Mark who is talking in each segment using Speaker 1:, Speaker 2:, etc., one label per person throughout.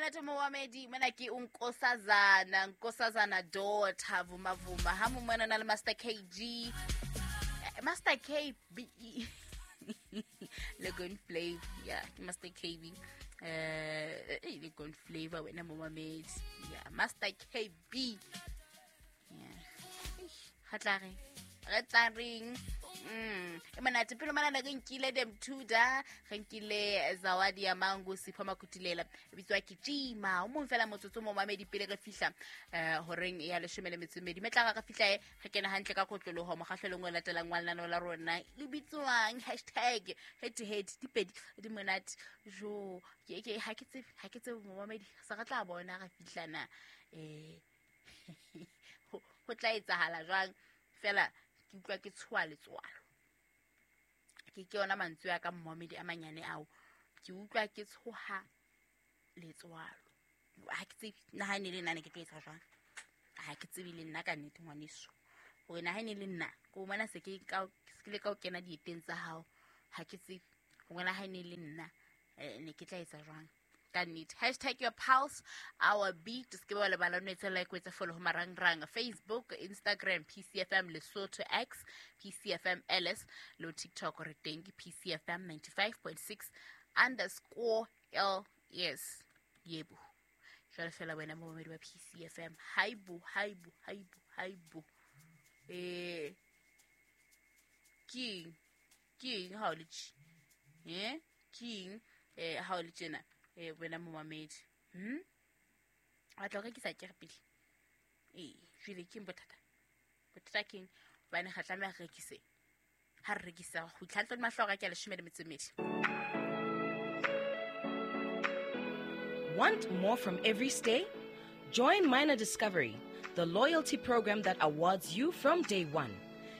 Speaker 1: Monate momamedi mona ke unkosazana nkosazana daughter vuma vuma ha mo mona na le Master KG, Master KB le Gun Flavor. Yeah, ke Master KB le Gun Flavor wena momamedi. Yeah, Master KB. Yeah, ga tla re re tla reng. E monate pele manana re nkile Demtuda, re nkile Zawadi ya Mangu, Sipho Makutilela, e bitswa ke Jima o mong fela motsotso mo mamedi pele re fihla horeng ya 12. Metla re fihla e re kena hantle ka kotloloho mokgahlelong o latelang wa lenaneo la rona le bitswang hashtag head to head. Dipedi di monate jo ke ha ke tsebe, ha ke tsebe momamedi, se re tla bona re fihlana ho tla etsahala jwang. Fela ke utlwa ke tshoha letswalo, ke yona mantswe a ka mmomedi a manyane ao, ke utlwa ke tshoha letswalo. Ha ke tsebe nna ha ne le nna ne ke tlo etsa jwang, ha ke tsebe le nna ka nnete ngwaneso hore na ha ne le nna ko bona se ke ka se le ka o kena dieteng tsa hao, ha ke tsebe hore na ha ne le nna ne ke tla etsa jwang ka nnete. Hashtag your pulse our beat. Se ke ba lebala no etsa like, o etse follow ho marangrang Facebook, Instagram PCFM Lesotho, X PCFM LS, le TikTok re teng ke PCFM 95.6 underscore LS. Yebo, jwale fela wena momamedi wa PCFM, haibo haibo haibo haibo, keng keng ha o le tje, keng ha o le tjena, wena momamedi, wa tla o rekisa kere pele, jwale keng bothata, bothata keng hobane ga tlameha re rekise, ha re rekisa go itlhantlo le mahlo a ke a 12.
Speaker 2: Want more from every stay? Join Minor Discovery, the loyalty program that awards you from day one.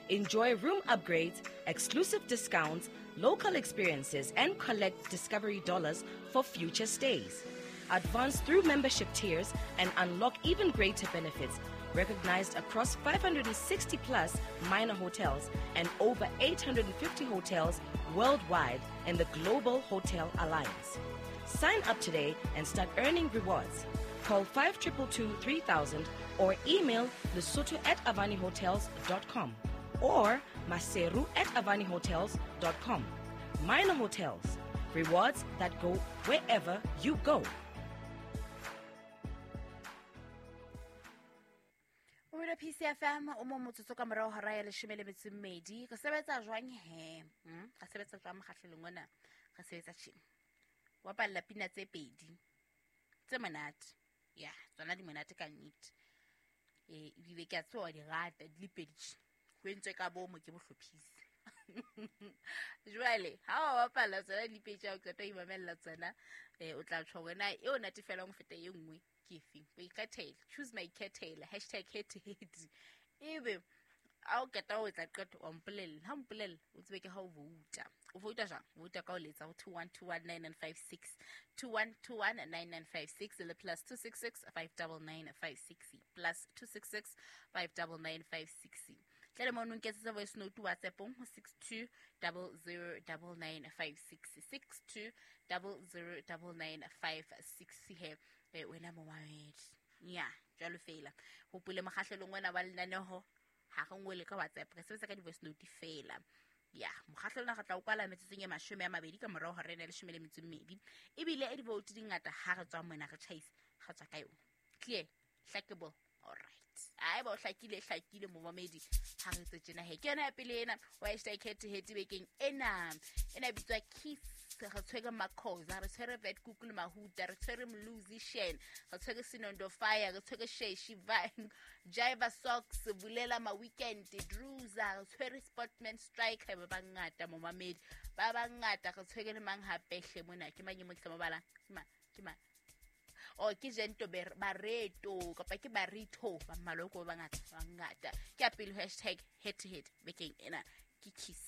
Speaker 2: Enjoy room upgrades, exclusive discounts, local experiences, and collect Discovery dollars for future stays. Advance through membership tiers and unlock even greater benefits, recognized across 560 plus Minor hotels and over 850 hotels worldwide in the Global Hotel Alliance. Sign up today and start earning rewards. Call 5222 3000 or email lesotho@avanihotels.com or maseru@avanihotels.com. Minor Hotels, rewards that go wherever you go.
Speaker 1: Mamedi PCFM o mo motsotso ka morao hora ya 12. Re sebetsa jwang he? Re sebetsa jwang mokgahlelong ona? Re sebetsa tjena. Wa bapalla pina tse pedi tse monate. Ya, tsona di monate ka nnete. Ebile ke a tseba wa di rata di le pedi tje. Ho entswe ka bomo ke bohlophisi. Jwale ha wa bapalla tsona di le pedi tje, ha o qeta ho imamella tsona, o tla tjho hore na eo natefelang ho feta e nngwe ke efeng. O ikgethele, choose my ikgethele, hashtag head to head. Ebe ha o qeta ho etsa qeto, wa mpolella. Ha o mpolella, o tsebe ke ha o vouta. O vouta jwang? O vouta ka ho letsa ho 21219956, 21219956 le +266 59956, +266 59956. Tle le mono nketsetse voice note WhatsApp-ong ho 62009956, 62009956 he. Wena momamedi, ya jwalo fela hopole mokgahlelong ona wa lenaneho ha re ngole ka WhatsApp, re sebetsa ka di-voice note fela. Ya mokgahlelong re tla o kwala metsotsong e 20 ka morao hora ena ya 12, ebile e di-vote di ngata ha re tswa mona re tjhaisa, re tswa ka yona. Clear, hlakable, alright. Haeba o hlakile, hlakile momamedi, ha re etse tjena he. Ke yona ya pele ena wa hashtag head to head bekeng ena. Ena e bitswa Kiss. Re tshwere Makhoza, re tshwere Vetkoek le Mahuta, re tshwere Mluzi Shen, re tshwere Sinondo Fire, re tshwere Sheshi Vine, Jiva Socks, Bulela Ma Weekend, Druza, re tshwere Sportman Striker, ba bangata momamedi, ba bangata. Re tshwere le mang hape hle mona? Ke mang e mo ke sa mo balang? Ke mang? Ke mang? Oh, ke Gento Barreto kapa ke Barito, ba mmalwa ko ba bangata, ba bangata. Ke ya pele hashtag head to head bekeng ena ke Kiss.